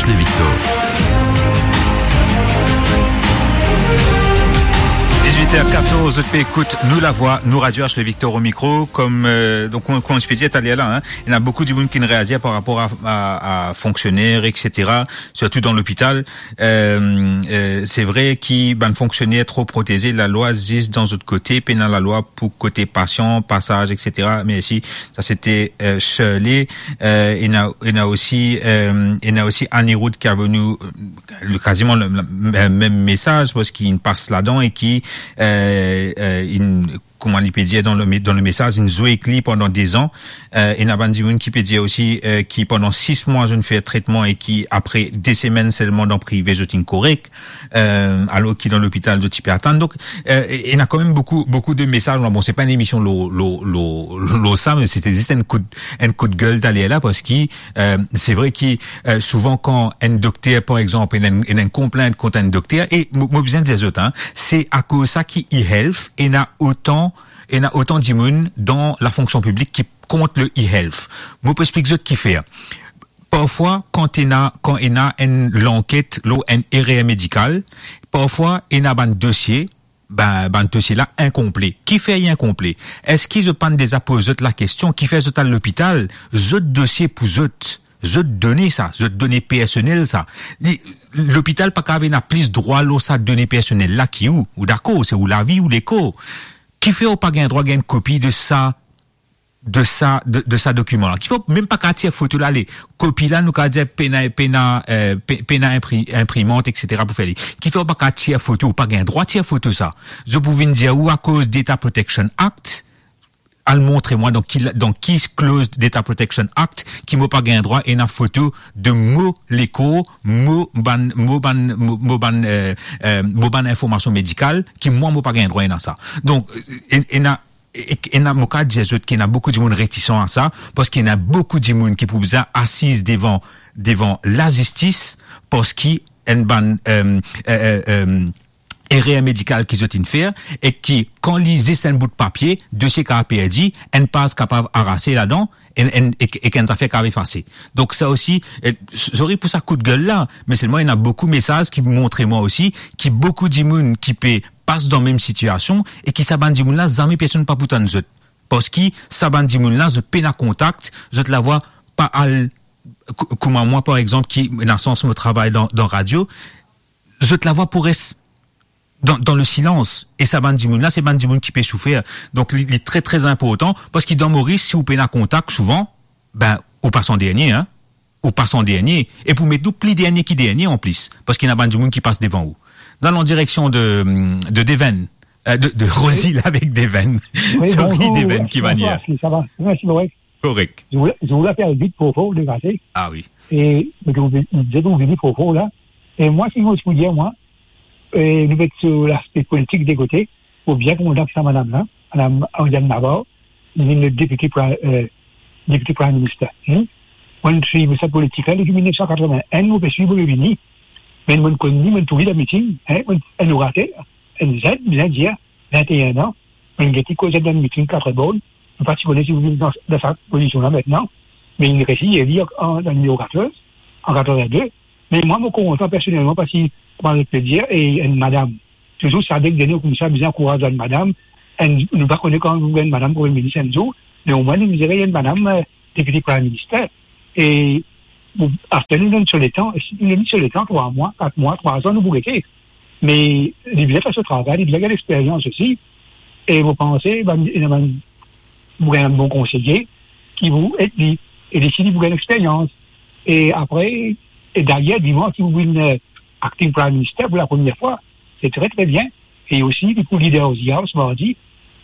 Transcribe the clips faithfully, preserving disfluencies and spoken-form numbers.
Ashley Victor. Dizwit er katorz, zot pe ekout Nou Lavwa, Nou Radio, Ashley Victor o mikro. Kom, eh, donk, kouma, kouma ti pe dir taler la, hein, ena boukou dimoun ki reazir par rapor a, a, a fonksioner, et cetera, sirtou dan lopital. Eh, eh, se vre ki bann fonksioner tro proteze, lalwa zis dan zot kote, pena lalwa pou kote pasian, pasaz, et cetera. Mersi. Sa se te, eh, Shirley. Eh, ena, ena osi, eh, ena osi Anirudh ki avoy nou, eh, le, kaziman le, le, le mem mesaz, parski inn pas ladan e ki, eh, eh, inn, kouma li pe dir dan le me-, dan le mesaz, inn zwe ek li pandan de zan. Eh, ena bann dimoun ki pe dir osi, eh, ki pandan sis mwa zot inn fer tretman e ki apre de semenn selman dan prive zot inn korek. Eh, alor ki dan lopital zot ti pe atann. Donk, eh, e, ena kanmem boukou, boukou de mesaz. Bon, se pa enn emision lor, lor, lor, lor sa, me se te zis enn kout, enn kout gel taler la, parski, eh, se vre ki, eh, souvan kan enn dokter, par exanp, ena enn, ena enn konplint kont enn dokter, e mo, mo bizin dir zot, hein, se akoz sa ki e-health ena otan, ena otan dimoun dan lafonksion piblik ki kont le e-health. Mo pou explik zot kifer. Parfwa, kan ena, kan ena enn lanket lor enn erer medikal, parfwa ena bann dosie, bann, bann dosie la inkonple. Kifer li inkonple? Eski zot pa'nn deza poz zot lakestion, kifer zot al lopital, zot dosie pou zot, zot done sa, zot done personel sa? Li, lopital pa kav ena plis drwa lor sa done personel la ki ou, ou dakor, se ou lavi, ou lekor. Kifer ou pa gagn drwa gagn kopi de sa de sa, de, de sa dokiman la. Kifer ou mem pa kav tir foto la, le kopi la, nou kav dir pena, pena, eh, pe-, pena inpri-, inprimant, et cetera pou fer li. Kifer ou pa kav tir foto, ou pa gagn drwa tir foto sa. Zot pou vinn dir ou akoz Data Protection Act, al montre mwa dan ki la-, dan ki clause Data Protection Act ki mo pa gagn drwa ena foto de mo lekor, mo bann, mo bann, mo, mo bann, eh, eh, mo bann informasion medikal ki mwa mo pa gagn drwa ena sa. Donk, eh, ena e, e, ena, mo kav dir zot ki ena boukou dimoun retisan a sa, parski ena boukou dimoun ki pou bizin asiz devan, devan lazistis, parski enn bann, eh, eh, eh, eh, erer medikal ki zot inn fer, e ki, kan li zis enn bout papie, dosie kav perdi, enn paz kapav arase ladan, enn, enn, ek, ek enn zafer kav efase. Donk sa osi, eh, s-, sorry pou sa kout gel la, me selman ena boukou mesaz ki montre mwa osi ki boukou dimoun ki pe pas dan mem sitiasion e ki sa bann dimoun la, zame personn pa pou tann zot. Parski sa bann dimoun la, zot pena kontak, zot lavwa pa al, kou-, kouma mwa, par exanp, ki ena sans mo travay dan, dan radio, zot lavwa pou res dan, dan le silans. E sa bann dimoun la, se bann dimoun ki pe soufer. Donk, li, li tre, tre inportan, parski dan Moris, si ou pena kontak souvan, ben, ou pas an dernie, hein. Ou pas an dernie. E pou met nou pli dernie ki dernie, anplis, parski ena bann dimoun ki pas devan ou. Nou al an direksion de, de Deven, eh, de, de Rosil avek Deven. Wi, sorry, bonzour, Deven, ki bonzour, manier? Ashley, sa va? Mersi, korek. Korek. Zour la, zour la fer vit, fofo, degase. Ah wi. E, me, me, me, me, me, fofo la. E mwa, si mo ti pou dir, mwa, e, nou met so laspe politik de kote, pou bien konpran sa madam la, madam Ariane Navarro, li vinn depite pri-, eh, depite Prime Minister. Hmm? Mwa, mo ti suiv sa politik la depi mil nef san katreven-enn, mo pe suiv, mo pe vini. Me mo konn li, mo trouv li dan miting, hein, mo, enn orater, enn zenn, bizin dir, vint-e-enn an, mo get li koz dan miting Claiborne, mo pa ti kone si li vinn dan, dan sa pozision la aster, me li resi eli an, an, dan nimero katorz, an katreven-de. Me mwa, mo kontan personelman, parski, kouma zot pe dir, e enn madam, touzour sa dek dernye koumsa, bizin ankouraz bann madam, enn, nou pa kone kan nou gagn madam Premie Minis enn zour, me omwin nou mizere enn madam, eh, Deputy Prime Minister. E, bon, aster nou donn so letan, si nou donn so letan, trwa mwa, kat mwa, trwa zan, nou pou gete. Me li bizin fer so travay, li bizin gagn lexperyans osi. E mo panse, bann, ena bann, pou gagn bon konseye ki pou ed li, e li si li pou gagn lexperyans. E apre, e dayer, dimann, si li pou vinn, eh, acting Prime Minister pou lapremier fwa, se tre, tre bien. E osi, li pou leader of the House mardi,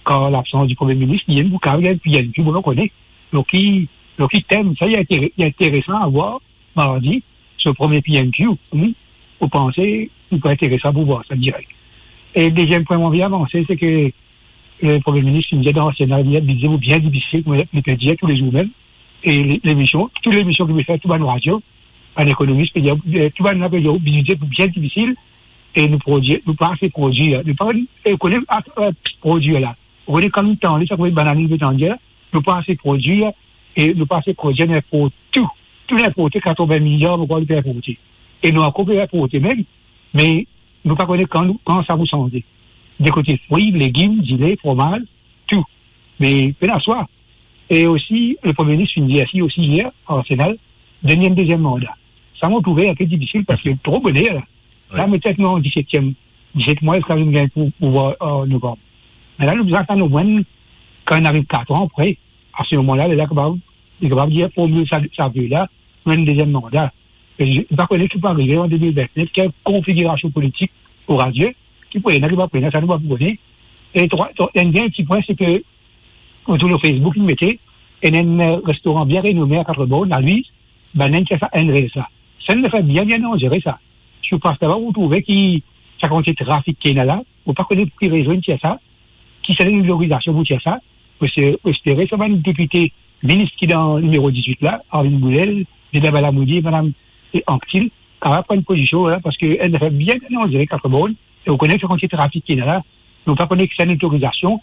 kan labsans di Premie Minis, li enn pou kav gagn P N Q, mo pa kone. Lor ki, lor ki tem, sa, li intere-, li interesan a vwar mardi, so premie P N Q, wi, mo panse, li pou interesan pou vwar sa direk. E deziem pwin mo anvi avanse, se ke, eh, Premie Minis, li dir dan Sena, li dir bize pou bien difisil, kouma li pe dir toulezour mem. E le-, lemision, tou lemision ki pe fer, tou bann radio, bann ekonomis pe dir, eh, tou bann la pe dir, bize pou bien difisil, e nou prodwir, nou pa ase prodwir. Nou pa, e kone, eh, prodwir la. Ou kone kan nou tande sa, kouma bann la nou pe tann dir, nou pa ase prodwir, e nou pa ase prodwir ninport tou. tou li inporte, katrovin miliar, mo krwar li pe inporte. E nou ankor pe inporte mem, me nou pa kone kan, kan sa pou sanze. De kote fri, legim, dile, fromaz, tou. Me pena swa. E osi, le Premie Minis finn dir osi yer, ar Senal, donn li enn deziem manda. Sa mo trouve inpe difisil parski tro boner la. La, wi, nou ti nou an disetiem, diset mwa ziska nou gagn pou, pouvwar, an novanm. Me la, nou bizin atann omwin kan li ariv kat an apre. A se moman la, li la kapav, li kapav dir, formil sa, sa ve la, pou enn deziem manda. E nou pa kone ki pou arive an de mil vintnef, kel konfigirasion politik ora Bondie, ki pou ena, ki pa pou ena, sa nou pa pou kone. E trwa, trwa, enn dernie ti pwin, se ke, ou trouv lor Facebook, li mete, ena enn, eh, restoran bien renome a Katreborn, a Lwiz, bann inn tir sa enn res la. Sa enn zafer bien, bien danzere sa. Si ou pas laba, ou trouve ki sa kantite trafik ki ena la, ou pa kone pou ki rezon inn tir sa, ki sa enn lotorizasion pou tir sa, mo espere sa bann depite, minis ki dan nimero dizwit la, Arvin Bourlel, Deda Balamoudier, madam, e, Anctil, kapav pran enn pozision la, parski enn zafer bien, bien danzere Katreborn, e ou kone sa kantite trafik ki ena la, nou pa kone ki sa enn lotorizasion,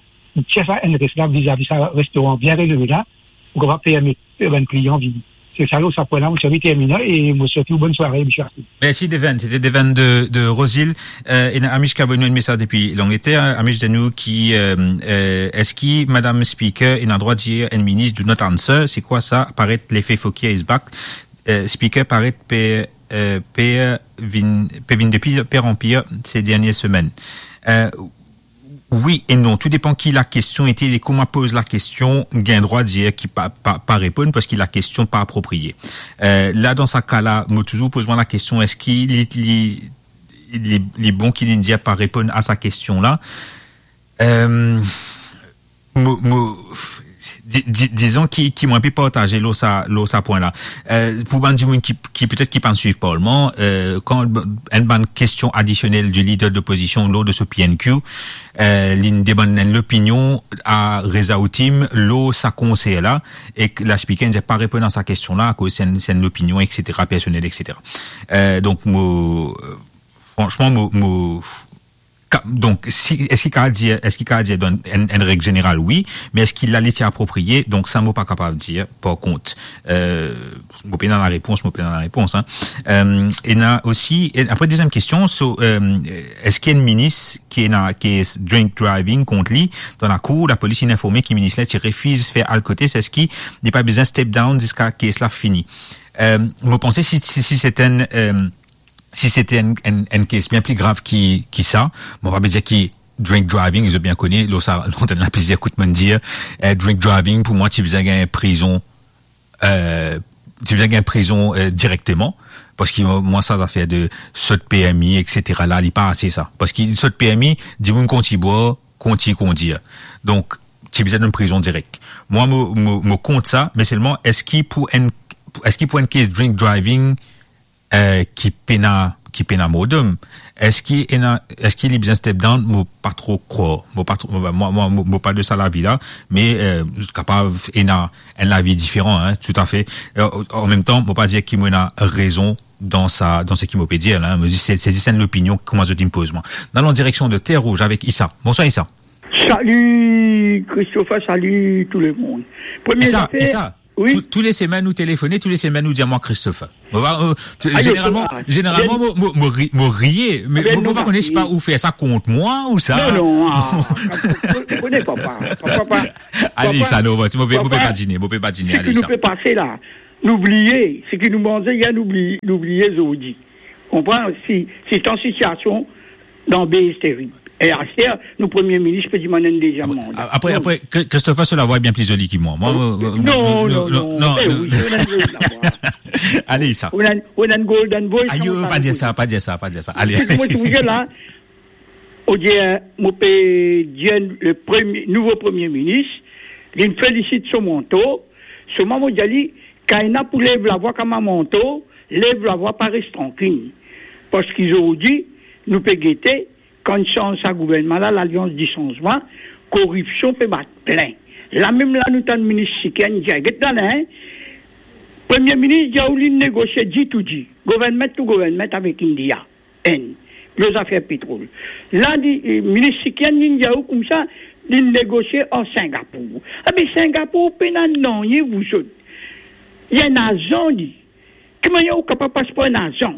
tir sa enn res la, vizavi sa restoran bien renome la, pou kapav permet, eh, bann klian vini. Se sa, lor sa pwin la, mo ti anvi termine, e mo swet ou bonn sware, misie Arthur. Mersi, Deven. Sete Deven de, de Rosil. Eh, ena Amish ki avoy nou enn mesaz depi Langleter. Amish dir nou ki, eh, eh, eski Madam Speaker ena drwa dir enn minis "Do not answer"? Se kwa sa? Paret lefe Fokir is back. Eh, Speaker paret pe, eh, pe vinn, pe vinn de pir an pir se dernie semenn. Eh, Wi e non, tou depan ki lakestion ete, e kouma poz lakestion, gagn drwa dir ki pa, pa, pa reponn, parski lakestion pa apropriye. Eh, la, dan sa ka la, mo touzour poz mwa lakestion, eski li, li, li, li bon ki li dir pa reponn a sa kestion la? Eh, mo, mo, di, di, dizon ki, ki mo inpe partaze lor sa, lor sa pwin la. Eh, pou bann dimoun ki, ki petet ki pa'nn swiv Parlman, eh, kan enn bann kestion adisionel di lider lopozision lor de so P N Q, eh, li demann enn lopinion a Reza Otim lor sa konser la, ek la Speaker dir pa reponn a sa kestion la, akoz se enn, se enn lopinion, et cetera, personel, et cetera. Eh, donk, mo, fransman, mo, mo, ka-, donk, si, eski kapav dir, eski kapav dir dan enn, enn reg zeneral, wi, me eski la li ti apropriye? Donk, sa mo pa kapav dir, par kont. Eh, mo pena larepons, mo pena larepons, hein. Eh, ena osi, e apre, deziem kestion, so, eh, eski enn minis ki ena kes drink driving kont li dan lakour, lapolis inn informe ki minis la ti refiz fer alkotest, eski li pa bizin step down ziska kes la fini? Eh, mo panse si, si, si se enn, eh, si se enn, enn, enn kes bien pli grav ki, ki sa, mo pa pe dir ki drink driving, zot bien kone, lor sa lantenn la plizier kout mo'nn dir, eh, drink driving, pou mwa, ti bizin gagn prizon, eh, ti bizin gagn prizon, eh, direkteman, parski mwa, mwa, sa zafer de sot permi, et cetera la, li pa ase sa. Parski sot permi, dimoun kontign bwar, kontign kondir. Donk, ti bizin dan prizon direk. Mwa, mo, mo, mo kont sa, me selman, eski pou enn, eski pou enn kes drink driving, eh, ki pena, ki pena mordom, eski ena, eski li bizin step down? Mo pa tro krwar. Mo pa tro, mo, mo, mo, mo pa de sa lavi la, me, eh, kapav ena enn lavi diferan, hein, toutafe. Eh, an mem tan, mo pa dir ki mo ena rezon dan sa, dan seki mo pe dir la, hein. Mo dir, se, se zis enn lopinion, kouma zot inn poz mwa. Nou al an direksion de Terre Rouge avek Issa. Bonswar, Issa. Salut, Christopher, salut tout le monde. Premie zafer, Issa, wi. Tou, tou le semenn ou telefone, tou le semenn ou dir mwa Christopher. Mo pa, eh, tou, zeneralman, zeneralman, mo, mo, mo ri-, mo riye, me mo, mo pa kone si pa ou fer sa kont mwa ou sa. Non, non, ah, mo kone papa, papa, papa. Ale, Issa, non, mo, mo pe, mo pe badine, mo pe badine, ale, Issa. Seki nou pe pase la, nou bliye, seki nou manze yer, nou bliye, nou bliye zordi. Konpran? Si, si an sitiasion dan be terib. E aster, nou Premie Minis pe dimann enn deziem manda. Apre, apre, Kri-, Christopher, so lavwa bien pli zoli ki mwa. Mwa, non, non, non, non, non, non. Eh wi, ou ena enn zoli lavwa. Ale, Issa. Ou ena, ou ena enn golden voice. Ayo, pa dir sa, pa dir sa, pa dir sa. Ale. Seki mo trouv la, ou dir, mo pe dir le premie, nouvo Premie Minis, li felisit so manto, selman mo dir li, kan ena pou lev lavwa kouma manto, lev lavwa, pa res trankil. Parski zordi, nou pe gete, kan sanz sa gouvernman la, Lalians di Sanzman, koripsion pe bat plen. La mem la, nou tann minis Sikien dir, get la la, hein, Premie Minis dir ou li negosie G to G, government to government avek India, Inn, lor zafer petrol. La, li, eh, minis Sikien, li dir ou koumsa, li negosie ar Singapour. Abe, Singapour pena nanye pou zot. Li enn azan, li. Ki manier ou kapav pas par enn azan?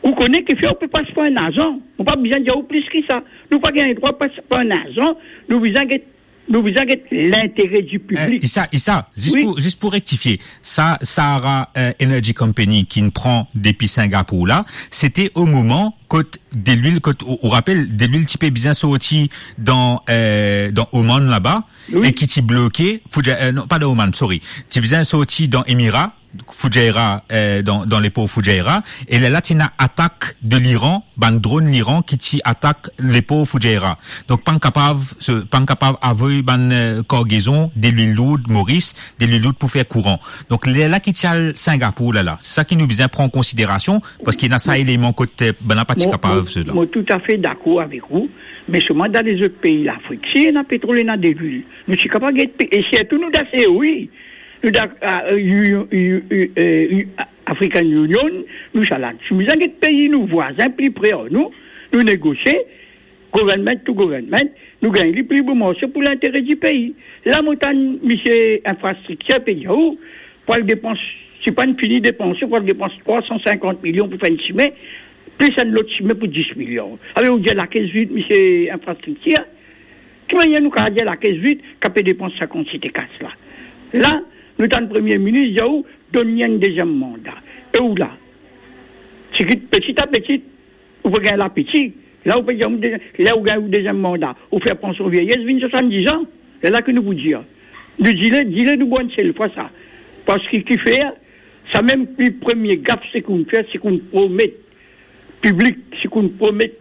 Ou kone kifer ou pe pas par enn azan. Mo pa bizin dir ou plis ki sa. Nou pa gagn drwa pas par enn azan. Nou bizin get, nou bizin get lintere di piblik. Eh, Issa, Issa, zis Wi. pou, zis pou rektifie, sa, Sahara, eh, Energy Company ki nou pran depi Singapour la, sete o moman kot delwil, kot, ou, ou rapel, delwil ti pe bizin sorti dan, eh, dan Oman laba, Wi. e ki ti bloke, Fuja-, eh, non, pa dan Oman, sorry, ti bizin sorti dan Emira, Fujairah, eh, dan, dan lepor Fujairah, e lerla ti ena atak de Liran, bann dronn Liran ki ti atak lepor Fujairah. Donk, pa'nn kapav, se, pa'nn kapav avoy bann, eh, kargezon delwil lour Moris, delwil lour pou fer kouran. Donk, lerla ki ti al Singapour la la, sa ki nou bizin pran an konsiderasion, parski ena sa Mo-, eleman kot, eh, bann la pa ti mo, kapav mo, se dan. Mo toutafe dakor avek ou, me selman dan lezot pei Lafrik, si ena petrol, ena delwil, nou ti kapav get pe-, e sirtou nou dan C O I, nou dan, ah, eh, Union, U-, U-, eh, U-, African Union, nou sa la. Si nou bizin get pei nou vwazin pli pre ar nou, nou negosie, government to government, nou gagn li pli bon marse pou lintere di pei. La, mo tann misie infrastriktir pe dir ou, pou al depans, si pa'nn fini depanse, pou al depans trwa san sinkant milion pou fer enn sime, plis enn lot sime pou dis milion. Alor, ou dir lakes vid, misie infrastriktir? Ki manier nou kapav dir lakes vid, ki pe depans sa kantite kas la? La, nou tann Premie Minis dir ou, donn li enn deziem manda. E ou la, ti kit, peti a peti, ou pe gagn lapeti. La, ou pe dir, ou de-, la, ou gagn ou deziem manda, ou fer pansion vyeyes vinn swasann-diz an. Lerla ki nou pou dir, nou dile, dile nou bwar enn sel fwa sa. Parski kifer, sa mem ki premie gaf, seki ou'nn fer, seki ou'nn promet piblik, seki ou'nn promet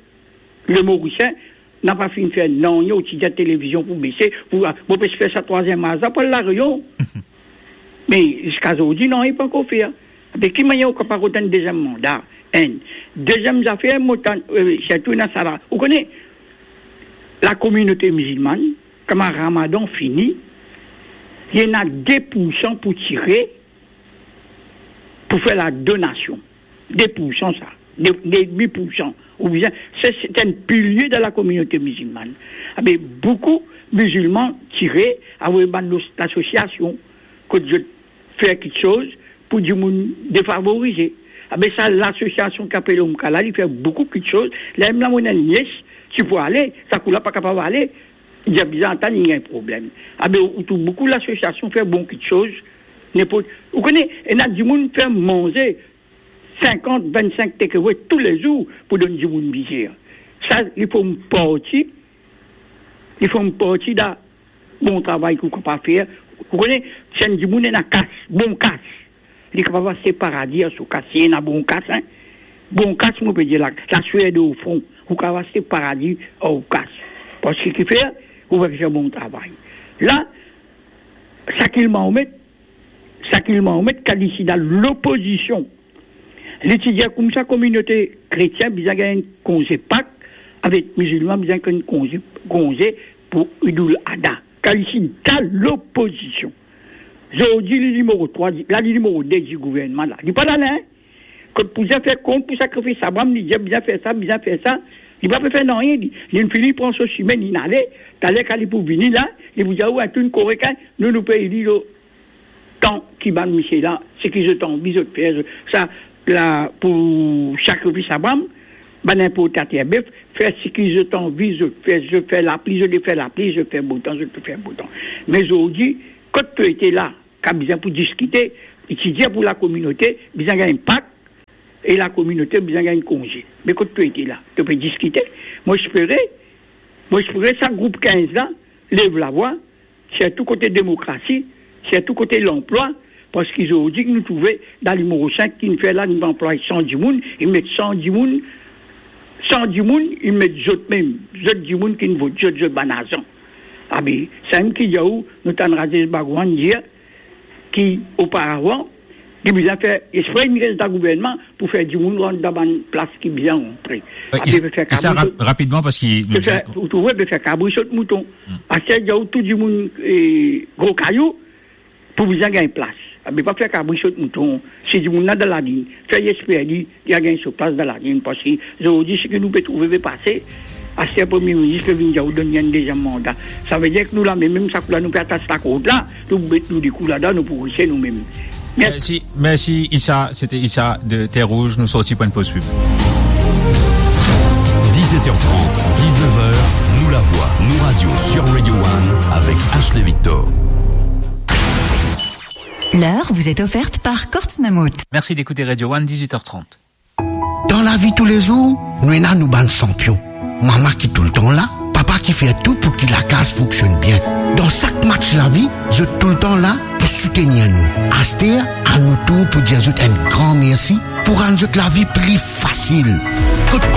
Lemorisien, napa finn fer nanye, ou ti dir televizion pou bese, pou, ah, bon, pe fer sa trwaziem az la pou al La Reunion. Me ziska zordi, nanye pankor fer. Be ki manier ou kapav rod enn deziem manda? Enn. Deziem zafer, mo tann, eh, sirtou ena sa la. Ou kone, lakominote mizilmann, kouma Ramadan fini, li ena de poursan pou tire, pou fer ladonasion. De poursan sa, de, de demi poursan. Ou bizin, se, se enn pilie dan lakominote mizilmann. Abe, boukou mizilman tire, avoy bann los-, lasosiasion, kot zot fer kiksoz pou dimoun defavorize. Abe, sa lasosiasion ki apel Omkala, li fer boukou kiksoz. Lerla mem la, mo ena enn nies, ti pou ale, sa kou la pa kapav ale, li dir bizin atann, li gagn problem. Abe, ou, ou trouv boukou lasosiasion fer bon kiksoz, ninport, ou kone, ena dimoun fer manze sinkant, vennsink takeaway toulezour pou donn dimoun mizer. Sa, li form parti, li form parti dan bon travay ki ou kapav fer. Ou kone, si enn dimoun ena kas, bon kas, li kapav aste paradi ar so kas, si ena bon kas, hein. Bon kas, mo pe dir la, laswed o fron, ou kapav aste paradi ar kas. Parski kifer, ou pe fer bon travay. La, Shakil Mohamed, Shakil Mohamed, kan li ti dan lopozision, li ti dir koumsa kominote kretien bizin gagn enn konze Pak, avek mizilman bizin gagn enn konze, konze pou Idoul Adha. Kan li ti dan lopozision. Zordi, li nimero trwa, la, li nimero de di gouvernman la. Li pa la, hein? Kot pou dir fer kont pou sakrifis Abraram, li dir bizin fer sa, bizin fer sa. Li pa pe fer nanye, li, li fini pran so sime, li ale. Taler kan li pou vini la, li pou dir, "Ou, to'nn korek, hein, nou, nou pe li lo tan ki bann misie la, seki zot anvi zot fer, zot, sa, la, pou sakrifis Abraram, bann inportater bef, fer seki zot anvi zot fer, zot fer lapli, zot fer lapli, zot fer botan, zot fer botan." Me zordi, kot to ete la, kan bizin pou diskite, li ti dir pou lakominote, bizin gagn Pak, e lakominote bizin gagn konze. Me kot to ete la, to pe diskite? Mo espere, mo espere sa group kinz la, lev lavwa, sirtou kote demokrasi, sirtou kote lanplwa, parski zordi ki nou trouve dan limoro sink ki nou fer la, nou anplway san dimoun, li met san dimoun, san dimoun, li met zot mem, zot dimoun ki vinn vot zot, zot bann azan. Abe, samem ki dir ou, nou tann Rajesh Bhagwan dir ki oparavan, li bizin fer espre li res dan gouvernman pou fer dimoun rant dan bann plas ki bizin rantre. Wi, Abe, e, pe fer e sa kabri rap-, sot, rapidman, parski nou pe fer, ou trouve, pe fer kabri sot mouton. Hmm. Aster, dir ou tou dimoun, eh, gro kayou, pou bizin gagn plas. Abe, pa fer kabri sot mouton. Si dimoun la dan lalinn, fer li espere li, li a gagn so plas dan lalinn, parski zordi, seki nou pe trouve pe pase, aster Premie Minis pe vinn dir ou donn li enn deziem manda. Savedir ki nou la mem, mem sa kou la, nou pe atas lakord la, nou met nou dikou ladan, nou pou rise nou mem. Merci, merci Issa, c'était Issa de Terre Rouge, nous sortons pour une pause pub. Dix-sept heures trente, dix-neuf heures, nous la voix, nous radio sur Radio One avec Ashley Victor. L'heure vous est offerte par Courts Mammouth. Merci d'écouter Radio One, dix-huit heures trente. Dan lavi toulezour, nou ena nou bann sanpion. Mama ki toultan la, papa ki fer tou pou ki lakaz fonksionn bien. Dan sak match lavi, zot toultan la pou soutenir nou. Aster, a nou tour pou dir zot enn gran mersi pou rann zot lavi pli fasil. Kot